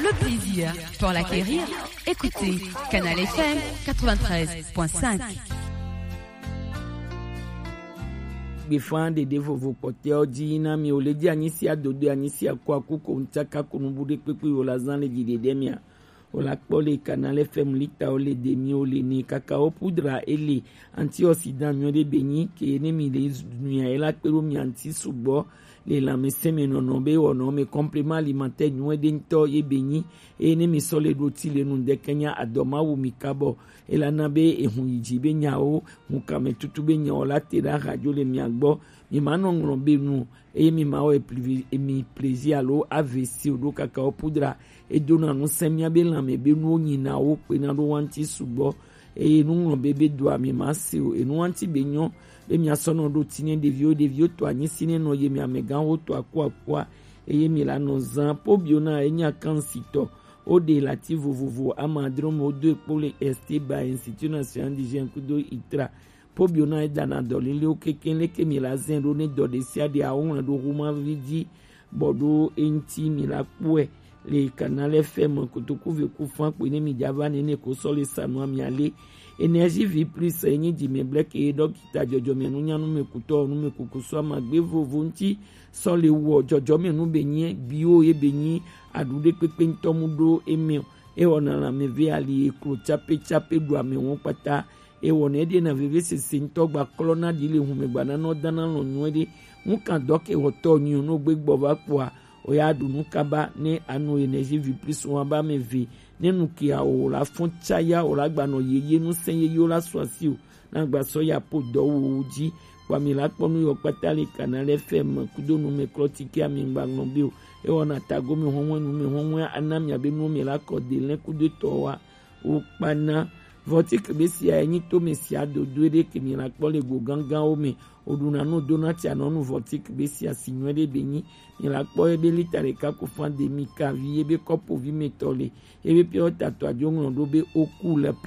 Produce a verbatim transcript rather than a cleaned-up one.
Le plaisir pour l'acquérir. Écoutez Canal F M quatre-vingt-treize point cinq. Gbefa ɖeɖe vovo kpɔtɛwo dzi na mi, wòle dzi anyi si adodo, anyi si aku aku ko ŋtsaka ko nubu ɖe kpekpe wòla zã le dzi ɖeɖe mia. Wòla kpɔ le Canal F M lita wo le de mi wo le ni kaka wo pudra ele antioxydant nyuie ɖe be nyi ke ne mi le nuya ela kpe ɖo mi anti sugbɔ le lãmesẽ me nɔnɔ be wɔnɔ me complément alimentaire nyuie ɖe ŋutɔ ye be nyi. Eye ne mi sɔ le ɖo ti le nu ŋdeke nya adɔ ma wu mi kabɔ. Ela na be ehun yi dzi be nyawo, hun kame tutu be nyawo la te ɖe ahadzo le mia gbɔ. Mi ma nɔ ŋlɔ be nu o, eye mi ma wɔ epli-, emi plaisir alo A V C o ɖo kaka wo pudra. Edona ŋusẽ mia be lãme be nuwo nyina wo kpena ɖo wa ŋuti sugbɔ. Eye nuŋlɔ be be doa mi ma se o. Enu wa ŋuti be nyɔ be mia sɔ nɔ ɖo ti ne ɖeviwo, ɖeviwo to anyi si ne nɔ ye mi amegãwo to aku akua. Eye mi la nɔ zã po bio na enya kan si tɔ. O ɖe lati vovovo ama adro me wo do ekpo le Esti ba Institut National d'Hygiène kudo itra. Po bio na edana dɔlelewo kekeŋ leke mi la zɛn ɖo ne dɔ ɖe sia ɖe awo ŋlɔ ɖo huma vi dzi bɔ ɖo eŋti mi la kpɔe le Canal F M kotoku ve ku fan kpe ne mi dza va nene ko sɔ le sanu ami ale. Energie vie plus enyi dzi me bleke ye dɔkita dzɔdzɔme nunyanu me kutɔ nu me kuku sɔ ama gbe vovo ŋti sɔ le wɔ dzɔdzɔme nu be nyi bio ye be nyi aɖu ɖe kpekpe ŋtɔ mu ɖo eme o. Ewɔna lãme ve ali eklo tsape tsape ɖu ame wɔn kpata. Ewɔna eɖena vevesese ŋutɔ gba klɔna ɖi le hume gba nanɔ dana lɔ nyuie ɖe. Ŋukan dɔ ke wɔtɔ nyuie no gbe gbɔ va kpɔa, oya ɖu nu kaba ne anu Energie vie plus wa ba me ve. Ne nu ke awo la fɔn tsaya o la gbanɔ yeye nu sɛn yeye o la sɔ asi o. Na gba sɔ ya po dɔ wo dzi. Kpɔ mi la kpɔ nu yɔ kpata le Canal F M kudo nu me klɔ tike ami gba ŋlɔ be o. Ewɔna tago mi hɔnwe nu me hɔnwe ana mi abe nu me la kɔ de lɛ kudo tɔ wa. Wo kpana. Vɔtik be sia enyi to me sia dodo ɖe ke mi la kpɔ le go gangan wo me. O ɖuna nu dona tia nɔ nu vɔtik be sia si nyuie ɖe be nyi. Mi la kpɔ ebe lita ɖeka ko fan de mi kavi ebe kɔpo vi me tɔ le. Ebe pia wo tatɔ adzo ŋlɔ ɖo be o ku le